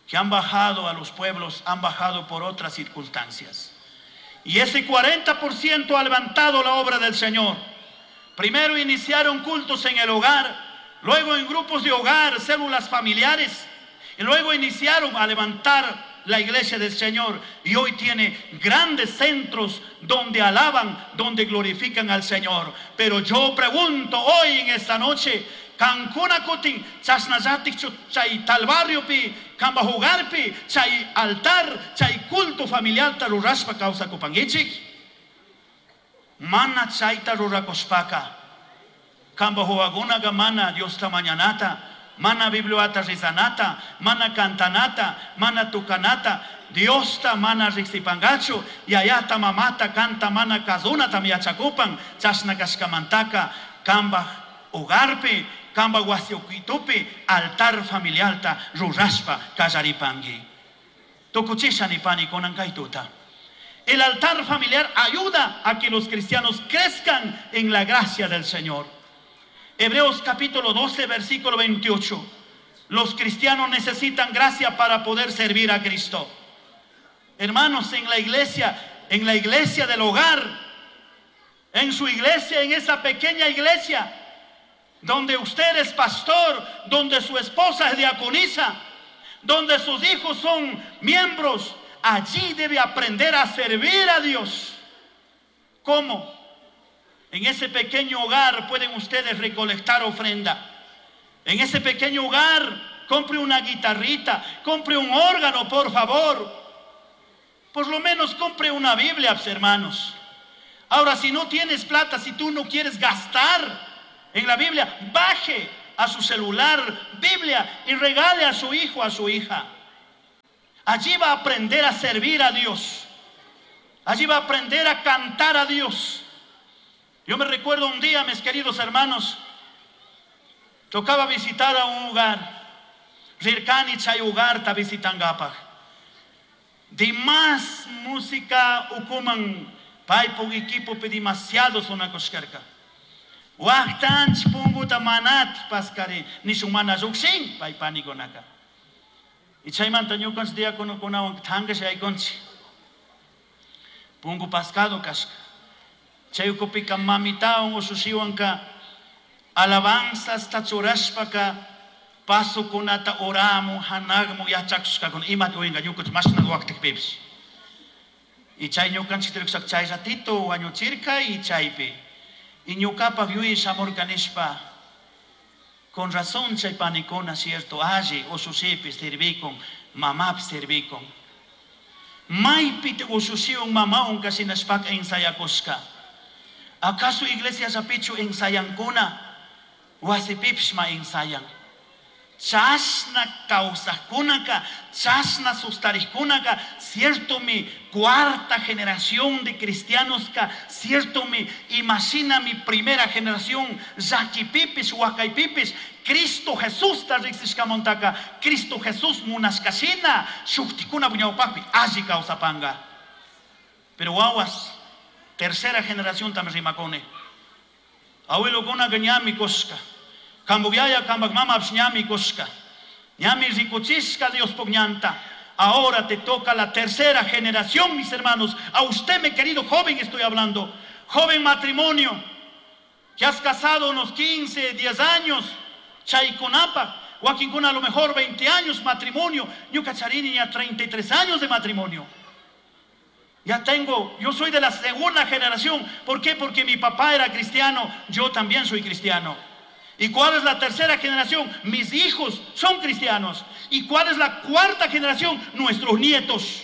que han bajado a los pueblos han bajado por otras circunstancias. Y ese cuarenta por ciento ha levantado la obra del Señor. Primero iniciaron cultos en el hogar, luego en grupos de hogar, células familiares, y luego iniciaron a levantar la iglesia del Señor, y hoy tiene grandes centros donde alaban, donde glorifican al Señor. Pero yo pregunto hoy en esta noche, Cancuna kutin chasnayatik chay tal barrio pi, kamba hogar pi, chay altar, chay culto familiar tarurashpa causa kupangichik. Mana chayta rurakushpaka, kamba huagunaga mana Dios ta mañanata, mana bibliota rizanata, mana cantanata, mana tucanata, Dios ta mana rixipangachu, yayata mamata canta mana kazunata miachakupan, chasna kashkamantaka, kamba hogarpi, kamba wasiukitupi, altar familiarta rurashpa kallaripangi. Tukuchisha ni pani konankaituta. El altar familiar ayuda a que los cristianos crezcan en la gracia del Señor. Hebreos capítulo doce, versículo veintiocho. Los cristianos necesitan gracia para poder servir a Cristo. Hermanos, en la iglesia, en la iglesia del hogar, en su iglesia, en esa pequeña iglesia, donde usted es pastor, donde su esposa es diaconisa, donde sus hijos son miembros, allí debe aprender a servir a Dios. ¿Cómo? En ese pequeño hogar pueden ustedes recolectar ofrenda. En ese pequeño hogar Compre una guitarrita, compre un órgano, por favor. Por lo menos compre una Biblia, pues, hermanos. Ahora, si no tienes plata, si tú no quieres gastar en la Biblia, baje a su celular Biblia y regale a su hijo, a su hija. Allí va a aprender a servir a Dios. Allí va a aprender a cantar a Dios. Yo me recuerdo un día, mis queridos hermanos, tocaba visitar a un lugar. Rirkani chay ugarta visitangapaj. De más música ukuman paypuk equipopi demasiado sonakushkarka. Waqtanchik punguta manat paskari nishun mana llukshin pay panikunaka. Y chaymanta ñukanchik diáconokunawan thankash yaykunchik. Pungu paskado kashka. Chay ukupika mamitawan ushushiwanka alabanzasta churashpaka pasukunata oramu hanagmu yachakushkakuna imata uyanka ñukanchik mashna waqtikpipish. Y chay ñukanchik rikushaka chay ratito wañuchirka y chaypi. Y ñukapak yuyay shamurka nishpa con razón chay panikuna cierto alli ushushipi sirvikun mamapi sirvikun. Maypi ushushiwan mamawan kashinashpaka ensayakushka. ¿Acaso iglesia llapichu ensayankuna? Wasipipish ma ensayan. Chashna kawsajkunaka, chashna sustarijkunaka, cierto mi cuarta generación de cristianos ka, cierto mi, imagina mi primera generación, llakipipish, wakaypipish, Cristo Jesús ta riksishkamuntaka, Cristo Jesús munashkashina, shuktikuna ñawpakpi alli kawsapanga. Pero wawas, tercera generación también rimakuni. Abuelokunaka ñami kushka. Kambuk yaya, kambak mama ñami kushka. Ñami rikuchishka Dios ñanta. Ahora te toca la tercera generación, mis hermanos. A usted, mi querido joven, estoy hablando. Joven matrimonio, que has casado unos quince, diez años. Chaykunapa. Wakinkuna a lo mejor veinte años matrimonio. Ñuka charini ya treinta y tres años de matrimonio. Ya tengo, yo soy de la segunda generación. ¿Por qué? Porque mi papá era cristiano, yo también soy cristiano. ¿Y cuál es la tercera generación? Mis hijos son cristianos. ¿Y cuál es la cuarta generación? Nuestros nietos.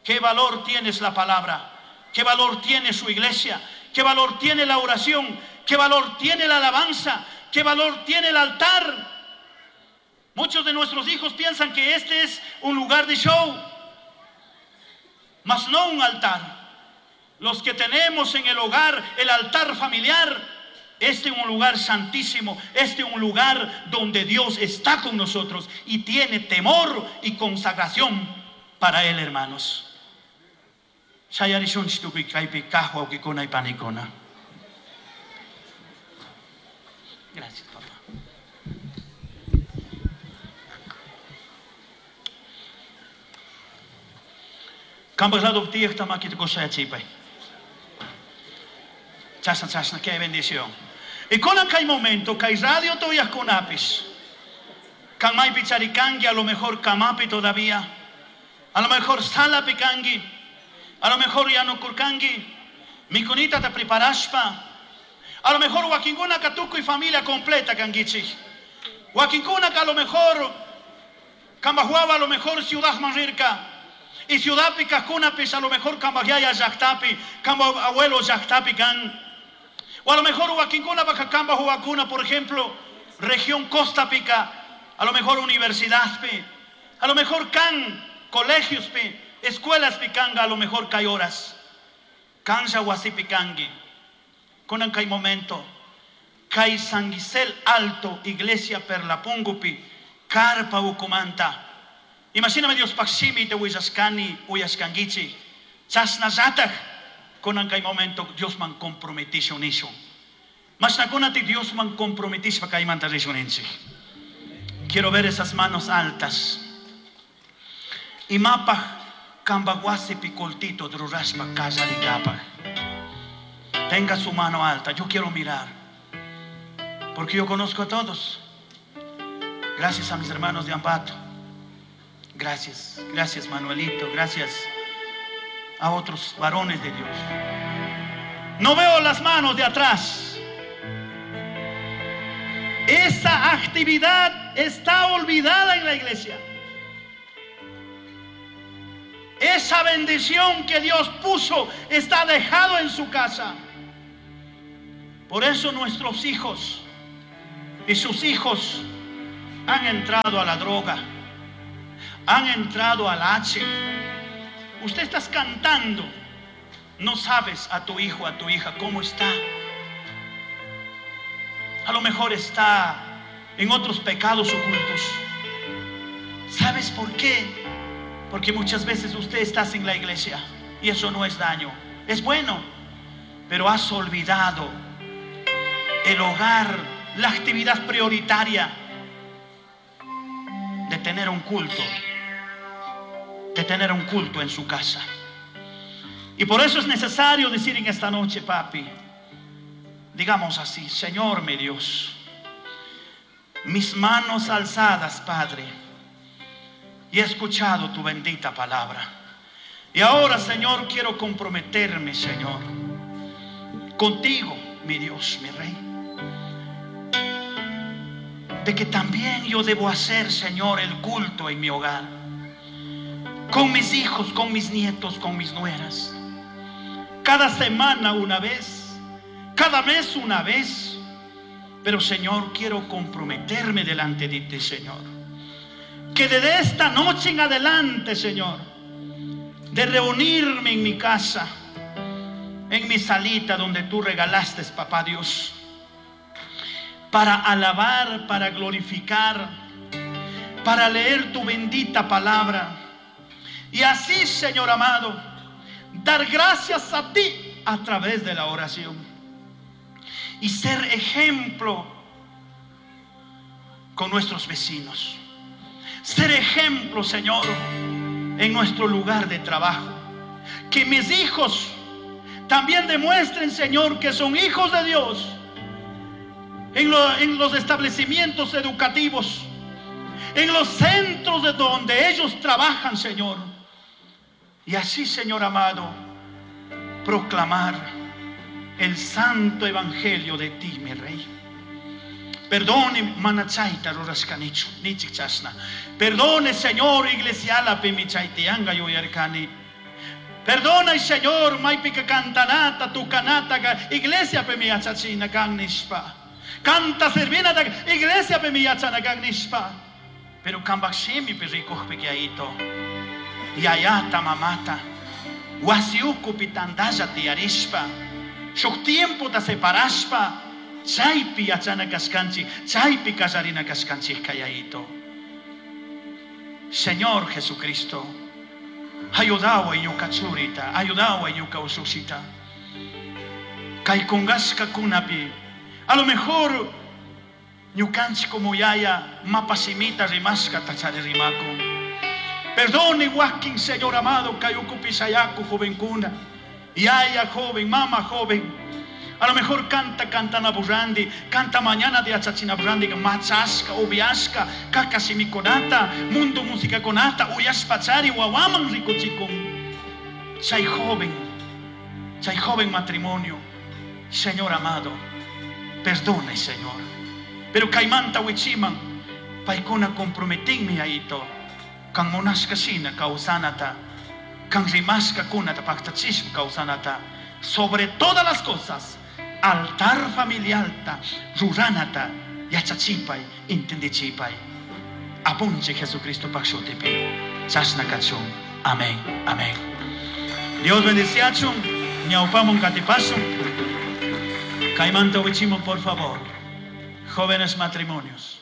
¿Qué valor tienes la palabra? ¿Qué valor tiene su iglesia? ¿Qué valor tiene la oración? ¿Qué valor tiene la alabanza? ¿Qué valor tiene el altar? Muchos de nuestros hijos piensan que este es un lugar de show, mas no un altar. Los que tenemos en el hogar el altar familiar, este es un lugar santísimo, este es un lugar donde Dios está con nosotros y tiene temor y consagración para Él, hermanos. Gracias, papá. Kambak lado tiyakta makita kushayachipay. Chasna, chasna, qué bendición. Y con kay momento, kay radio toyakunapis. Kanmaypi charikangi, a lo mejor kamapi todavía. A lo mejor salapi kangi. A lo mejor ya no kurkangi. Mikunita te preparaspa. A lo mejor wakinkuna katuku y familia completa kangichi. Wakinkuna a lo mejor kambajuaba, a lo mejor ciudad manrirka. Y ciudad picakunapis, a lo mejor kambajiaya yaktapi, kamba abuelo yaktapi kan. O a lo mejor wakinkuna bakakamba huakuna, por ejemplo, región Costa Pica, a lo mejor universidad pi, a lo mejor can, colegios pi, escuelas picanga, a lo mejor cayoras. Kanja wasipikangi. Kunan kay momento, kay Sanguisel Alto, iglesia perlapungupi, carpa ukumanta. Imagíname Dios paximi te uyascani, uyascanguichi. Chasnazataj, kunan kay momento Dios man comprometisho nisho. Masnakunati Dios man comprometispa kaymanta rishuninchi. Quiero ver esas manos altas. Imapaj kambaguasi picoltito druraspa kallarikapaj. Tenga su mano alta. Yo quiero mirar, porque yo conozco a todos. Gracias a mis hermanos de Ambato. Gracias, gracias Manuelito, gracias a otros varones de Dios. No veo las manos de atrás. Esa actividad está olvidada en la iglesia. Esa bendición que Dios puso está dejado en su casa. Por eso nuestros hijos y sus hijos han entrado a la droga, han entrado al H. Usted estás cantando, no sabes a tu hijo, a tu hija cómo está. A lo mejor está en otros pecados ocultos. ¿Sabes por qué? Porque muchas veces usted está en la iglesia y eso no es daño, es bueno, pero has olvidado el hogar, la actividad prioritaria de tener un culto, de tener un culto en su casa. Y por eso es necesario decir en esta noche, papi, digamos así: Señor mi Dios, mis manos alzadas, Padre, y he escuchado tu bendita palabra. Y ahora, Señor, quiero comprometerme, Señor, contigo, mi Dios, mi Rey, de que también yo debo hacer, Señor, el culto en mi hogar, con mis hijos, con mis nietos, con mis nueras. Cada semana una vez, cada mes una vez. Pero, Señor, quiero comprometerme delante de ti, Señor, que desde esta noche en adelante, Señor, de reunirme en mi casa, en mi salita donde tú regalaste, papá Dios, para alabar, para glorificar, para leer tu bendita palabra. Y así, Señor amado, dar gracias a ti a través de la oración. Y ser ejemplo con nuestros vecinos. Ser ejemplo, Señor, en nuestro lugar de trabajo. Que mis hijos también demuestren, Señor, que son hijos de Dios en, lo, en los establecimientos educativos, en los centros de donde ellos trabajan, Señor. Y así, Señor amado, proclamar el santo evangelio de ti, mi Rey. Perdone, manachaita rurashkanichu, nichik chashna. Perdone, Señor, iglesialapi michaitianga yuyarkani. Perdona, Señor, maypika cantanata, tucanata, iglesia pe mi yachachina kan nishpa. Canta servina iglesia pe mi yachana kan nishpa. Pero kambak shimipi rikujpi aito. Yayata mamata. Wasiukupi tandalla tiyarishpa. Shuk tiempo ta separashpa. Chaypi yachana kashkanchik, chaypi kasharina kashkanchik kayaito. Señor Jesucristo, ayudawa ñuka churita, ayudawa ñuka usushita. Kay kungashka kunapi, a lo mejor ñukanchik como yaya mapasimita rimashka tachari rimaku. Perdone wakin, Señor amado, kay ukupi sayaku jovenkuna, yaya joven, mama joven. A lo mejor canta, canta naburrandi, canta mañana de achachina burrandi, machasca, obiasca, kakasimikonata, mundo música konata, uyaspachari, wawaman rico chico. Chay joven, chay joven matrimonio, Señor amado, perdone, Señor. Pero kaimanta wichiman, paikuna comprometinmi aito, kan monasca sina kausanata, kan rimasca kunata paktachism kausanata, sobre todas las cosas, altar familiarta, ruranata, yachachipay, entendichipay. Apunche Jesucristo pakshutipi. Chashna kachun. Amén, amén. Dios bendiciachun, ñawpamun katipasun. Kaimanta wichimo, por favor. Jóvenes matrimonios,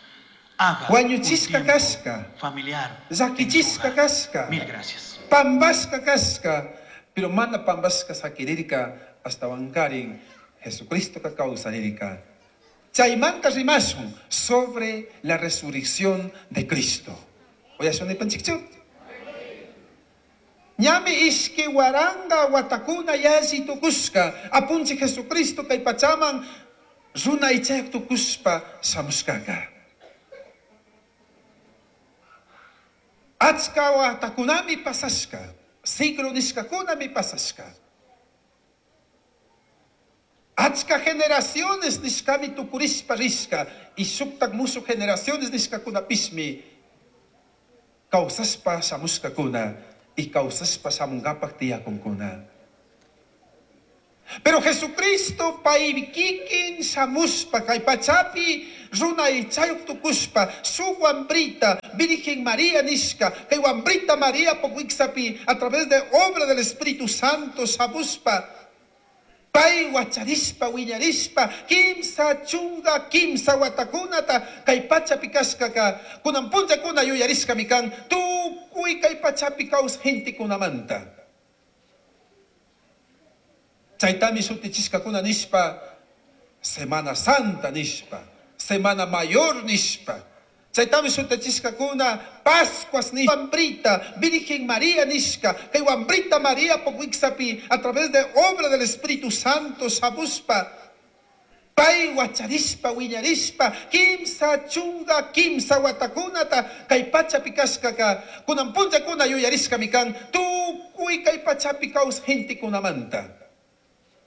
hagan un Wañuchisqa tiempo kasqa, familiar. llakichisqa kasqa, Mil gracias. pambasqa kasqa, pero mana pambasqa sakirirka hasta wankarin Jesucristo ka kawsarirka. Chaymanta rimasun sobre la resurrección de Cristo. Uyashunipanchikchu? Ñami ishki waranga watakuna yalli tukushka, apunchi Jesucristo kay pachaman runa ichayaq tukushpa shamushkaka. Achka watakunami pasashka, siglo nishkakunami pasashka. Achka generaciones nishkami tukurishpa rishka y shuktak mushuj generaciones nishkakunapishmi kawsashpa shamushkakuna y kawsashpa shamunkapak tiyakunkuna. Pero Jesucristo pay kikin shamushpa kay pachapi runa aychayuq tukushpa shuk wambrita Virgen María nishka kay wambrita María wiksapi a través de obra del Espíritu Santo shamushpa pay wacharishpa wiñarishpa kimsa chunka kimsa watakunata kay pachapi kashkaka kunan punllakuna yuyarishkami kan tukuy kay pachapi kawsaj gentekunamanta. Chaytami shutichishkakuna nishpa Semana Santa nishpa, Semana Mayor nishpa. Chaytami shutichishkakuna Pascuas nishpa. Wambrita Virgen María nishka kay wambrita María wiksapi a través de obra del Espíritu Santo shamushpa pay wacharishpa wiñarishpa kimsa chunka kimsa watakunata kay pachapi kashkaka kunan punllakuna yuyarishkami kan tukuy kay pachapi kawsaj gentekunamanta.